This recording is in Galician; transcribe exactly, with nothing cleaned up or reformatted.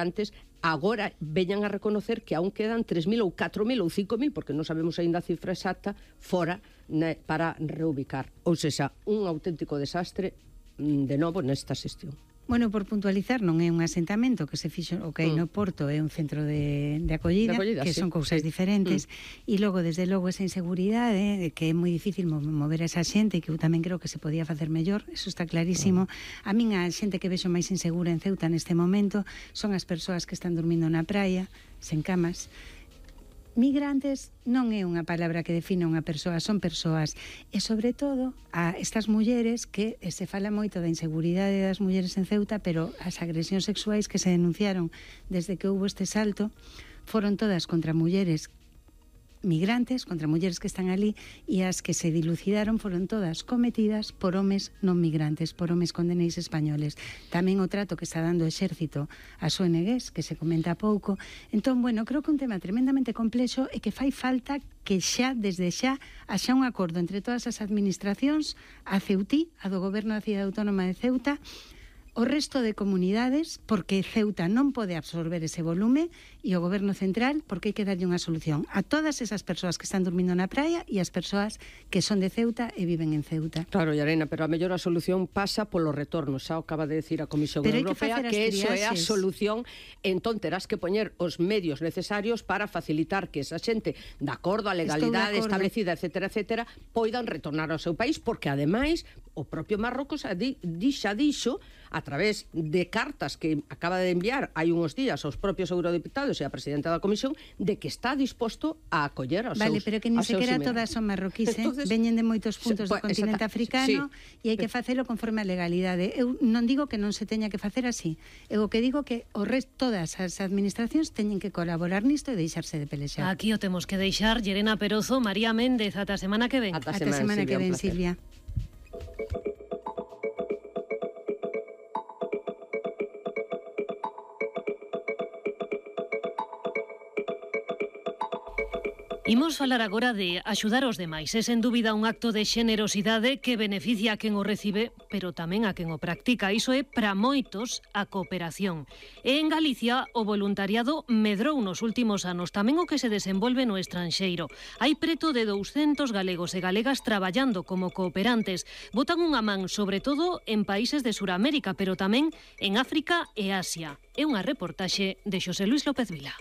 antes, agora veñan a reconocer que aún quedan tres mil ou catro mil ou cinco mil, porque non sabemos aínda a cifra exacta, fora ne, para reubicar. Ou seja, un auténtico desastre de novo nesta xestión. Bueno, por puntualizar, non é un asentamento que se fixo o que hai no Porto, é un centro de, de, acollida, de acollida, que sí, son cousas sí. diferentes, mm. e logo, desde logo, esa inseguridade, de que é moi difícil mover a esa xente, e que eu tamén creo que se podía facer mellor, eso está clarísimo. Mm. A min a xente que vexo máis insegura en Ceuta neste momento son as persoas que están dormindo na praia, sen camas. Migrantes non é unha palabra que define unha persoa, son persoas, e sobre todo a estas mulleres que se fala moito da inseguridade das mulleres en Ceuta, pero as agresións sexuais que se denunciaron desde que houve este salto foron todas contra mulleres migrantes, contra mulleres que están ali, e as que se dilucidaron foron todas cometidas por homes non migrantes, por homes condeneis españoles. Tamén o trato que está dando o exército ás O N Gs, que se comenta pouco. Entón, bueno, creo que un tema tremendamente complexo e que fai falta que xa, desde xa, haxa un acordo entre todas as administracións, a Ceutí, a do Goberno da Cidade Autónoma de Ceuta, o resto de comunidades, porque Ceuta non pode absorber ese volume, e o Goberno Central, porque hai que darlle unha solución a todas esas persoas que están dormindo na praia e as persoas que son de Ceuta e viven en Ceuta. Claro, Llarena, pero a mellor a solución pasa polo retorno, xa acaba de decir a Comisión pero Europea que, que eso é a solución, entón terás que poñer os medios necesarios para facilitar que esa xente, de acordo á legalidade establecida, etcétera, etcétera, poidan retornar ao seu país, porque ademais o propio Marrocos xa dixo a través de cartas que acaba de enviar hai unhos días aos propios eurodiputados e a presidenta da Comisión, de que está disposto a acoller aos vale, seus pero que ni sequera todas son marroquíes, eh? Veñen de moitos puntos do continente africano, sí, e hai que facelo conforme a legalidade. Eu non digo que non se teña que facer así, eu o que digo que o resto, todas as administracións teñen que colaborar nisto e deixarse de pelexar. Aquí o temos que deixar. Llerena Perozo, María Méndez, ata a semana que ven. Ata a semana, semana que ven, Silvia. Imos falar agora de axudar os demais. É sen dúbida un acto de xenerosidade que beneficia a quen o recibe, pero tamén a quen o practica. Iso é para moitos a cooperación. E en Galicia o voluntariado medrou nos últimos anos, tamén o que se desenvolve no estranxeiro. Hai preto de douscentos galegos e galegas traballando como cooperantes. Botan unha man, sobre todo, en países de Suramérica, pero tamén en África e Asia. É unha reportaxe de Xosé Luis López Vila.